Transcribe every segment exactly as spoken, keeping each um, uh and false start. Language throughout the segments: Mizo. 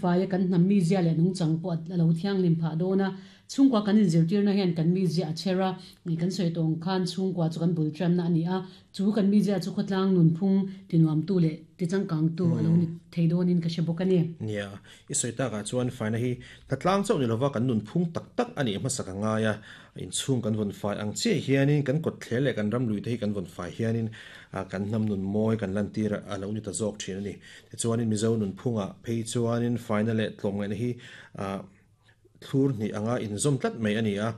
faia kan hnam mizia leh nungchang pawh a lo thianghlim phah dawn a, chhungkua kan inzirtirna hian kan mizia a chher a, kan sawi tawh ang khan chhungkua chu kan bul tanna a ni a, chu kan mizia chu khawtlang nunphung tinuamtu leh tichangkangtu a lo ni thei dawnin ka hre bawk a ni. Nia, i sawi takah chuan faina hi hna tlang chauh ni lova kan nunphung tak tak a nih hmasa ka ngai a, inchhung kan vawn fai ang chiah hianin kan kawt thler leh kan ram lui te hi kan vawn fai hianin kan hnam nun mawi kan lantir a lo ni ta zawk thin a ni. Tichuanin Mizo nunphungah phei chuanin faina leh tlawmngaihna hi thlur hnih anga inzawm tlat mai a ni a,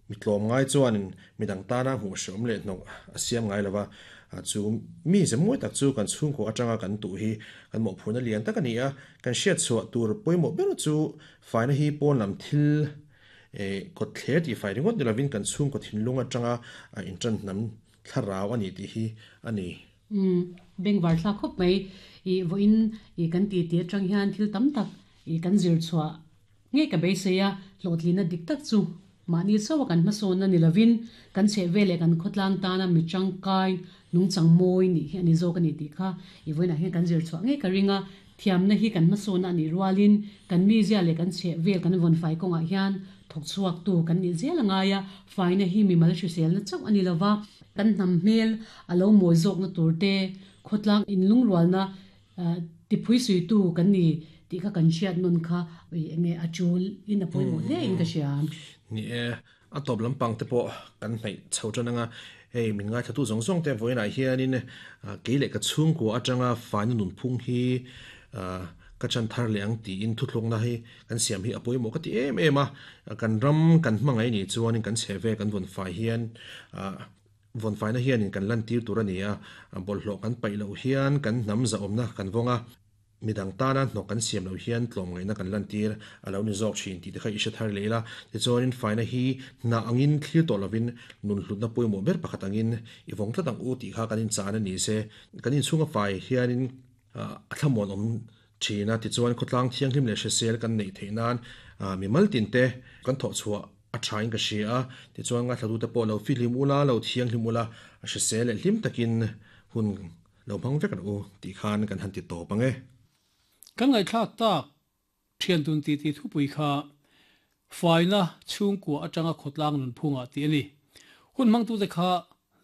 mi tlawmngai chuanin midang tana hmuh hreawm leh hnawk a siam ngai lova, chu mi ze mawi tak chu kan chhungkaw atanga kan tuh hi kan mawhphurna lian tak a ni a, kan hriat chhuah tur pawimawh ber chu faina hi pawn lam thil kawt thler tih fai ringawt ni lovin kan chhungkaw thinlung atanga intan hnam thlarau a ni tih hi a ni. Um, bengvar thlak khawp mai i vawiin i kan ti ti atang hian thil tam tak i kan zir chhuah nge ka beisei a, hlawhtlina dik tak chu mahni chauha kan hmasawnna ni lovin kan chheh vel leh kan khawtlang tana mi tangkai nungchang mawi nih hi a ni zawk a ni tih kha i vawiinah hian kan zir chhuah ngei ka ring a, thiamna hi kan hmasawnna a nih rualin kan mizia leh kan chheh vel kan vawn fai kawngah hian thawk chhuak tu kan nih zel a ngai a, faina hi mimal hriselna chauh a ni lova, kan hnam hmel a lo mawi zawkna tur te khawtlang inlungrualna tiphui suitu kan ni tih kha kan hriat nawn kha enge a tul in a pawimawh hle in ka hria. Ni e, a tawp lampang te pawh kan hnaih chho tan anga, hei min ngai thatu zawng zawng te vawiinah hianin kei leh ka chhungkua atanga faina nunphung hi ka chan thar leh ang tiin thuthlukna hi kan siam hi a pawimawh ka ti em em a, kan ram kan hmangaih ni chuanin kan chheh vel kan vawn fai hian vawn faina hianin kan lantir tur a ni a, bawlhhlawh kan paih loh hian kan hnam zahawmna kan vawng a, midang tana hnawk kan siam loh hian tlawmngaihna kan lantir a lo ni zawk thin tih te kha i hre thar leh ila, tichuanin faina hi hna angin thlir tawh lovin nun hlutna pawimawh ber pakhat angin i vawng tlat ang u tih kha kan inchan a ni se, kan inchhunga fai hianin a thlamuan awm thin a, tichuan khawtlang thianghlim leh hrisel kan neih theih nan mimal tin te kan thawh chhuah a thain ka hria a, tichuan ngaithla te pawh lo fihlim ula lo thianghlim ula a hrisel leh hlim takin hun lo hmang vek u tih khan kan han ti tawp ange. Kan ngai thlak tak thian tun ti ti thupui kha faina chhungkua atanga khawtlang nun phunga ti ani. Hun mang tu te kha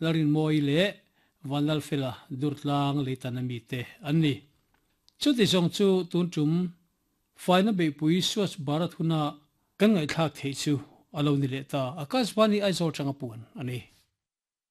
larin moi le vanlal fela durtlang leitanami te anni. Chuti zong chu tun tum faina beipui Swachh Bharat huna kan ngai thlak thei chu alo ni le ta. Akashvani Aizawl tanga puan ani.